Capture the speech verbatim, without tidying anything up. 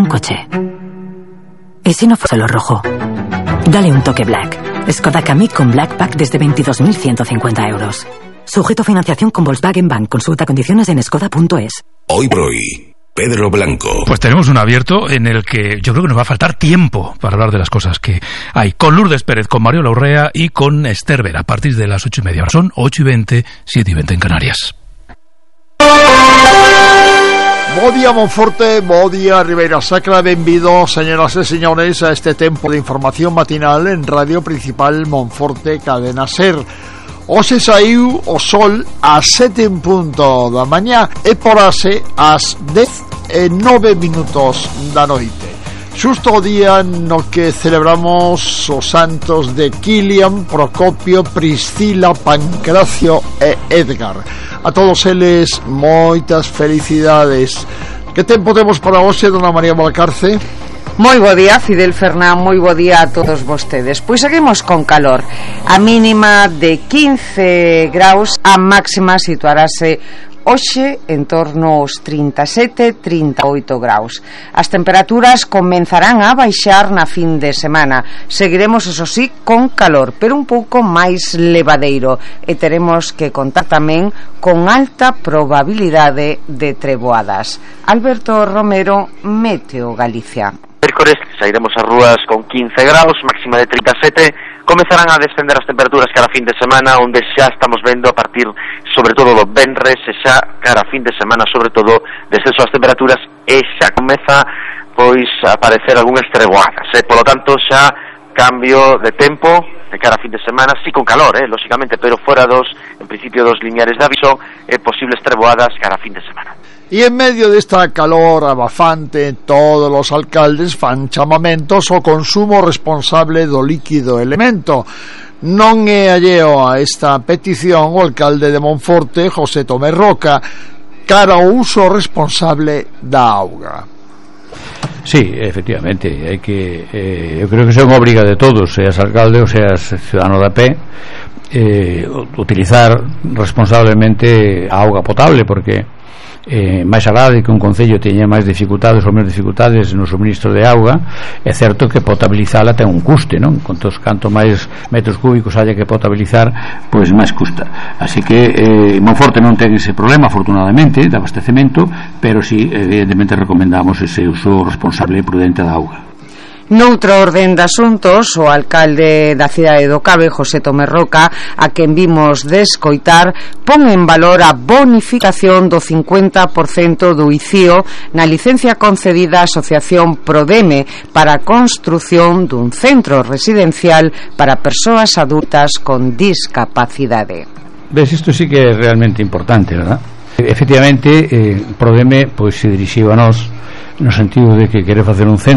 un coche. ¿Y si no fuese lo rojo? Dale un toque Black. Skoda Kamiq con Black Pack desde veintidós mil ciento cincuenta euros. Sujeto a financiación con Volkswagen Bank. Consulta condiciones en skoda punto es. Hoy por hoy, Pedro Blanco. Pues tenemos un abierto en el que yo creo que nos va a faltar tiempo para hablar de las cosas que hay. Con Lourdes Pérez, con Mario Urrea y con Esther Vera, a partir de las ocho y media. Ahora son ocho y veinte, siete y veinte en Canarias. Bo día Monforte, bo día Ribeira Sacra, benvidos, señoras e señores, a este tempo de información matinal en Radio Principal Monforte Cadena Ser. Hoxe saiu o sol ás sete en punto da mañá e porase ás dez e nove minutos da noite. Xusto o día no que celebramos os santos de Kilian, Procopio, Priscila, Pancracio e Edgar. A todos eles, moitas felicidades. Que tempo temos para hoxe, dona María Valcarce? Moi bo día, Fidel Fernán, moi bo día a todos vostedes. Pois seguimos con calor. A mínima de quince graus, a máxima situarase hoxe en torno aos trinta e sete, trinta e oito graus. As temperaturas comenzarán a baixar na fin de semana. Seguiremos, eso sí, con calor, pero un pouco máis levadeiro, e teremos que contar tamén con alta probabilidade de treboadas. Alberto Romero, Meteo Galicia. Mércores sairemos ás rúas con quince graus, máxima de trinta e sete. Comezarán a descender as temperaturas cara a fin de semana, onde xa estamos vendo a partir sobre todo do venres e xa cara a fin de semana sobre todo descenso das temperaturas e xa comeza pois a aparecer algunhas treboadas, eh? Polo tanto xa cambio de tempo de cara a fin de semana, sí con calor, eh, lógicamente, pero fora dos, en principio dos lineares de aviso e posibles treboadas cara a fin de semana. E en medio desta calor abafante, todos os alcaldes fan chamamentos ao consumo responsable do líquido elemento. Non é alleo a esta petición o alcalde de Monforte, José Tomé Roca, cara ao uso responsable da auga. Sí, efectivamente, hai que eh, eu creo que é unha obriga de todos, seas alcalde ou seas ciudadano de a pé, eh, utilizar responsablemente a auga potable, porque eh, máis alá de que un concello teña máis dificultades ou menos dificultades no suministro de auga, é certo que potabilizala ten un custe, non? Contos canto máis metros cúbicos haya que potabilizar, pois máis custa. Así que eh, Monforte non ten ese problema, afortunadamente, de abastecemento, pero sí, evidentemente recomendamos ese uso responsable e prudente da auga. Noutro orden de asuntos, o alcalde da cidade do Cabe, José Tomé Roca, a quen vimos de escoitar, pon en valor a bonificación do cincuenta por cento do I C I O na licencia concedida á Asociación Prodeme para a construción dun centro residencial para persoas adultas con discapacidade. Ves, isto sí que é realmente importante, verdad? Efectivamente, eh, Prodeme pois se dirixiu a nós no sentido de que quere facer un centro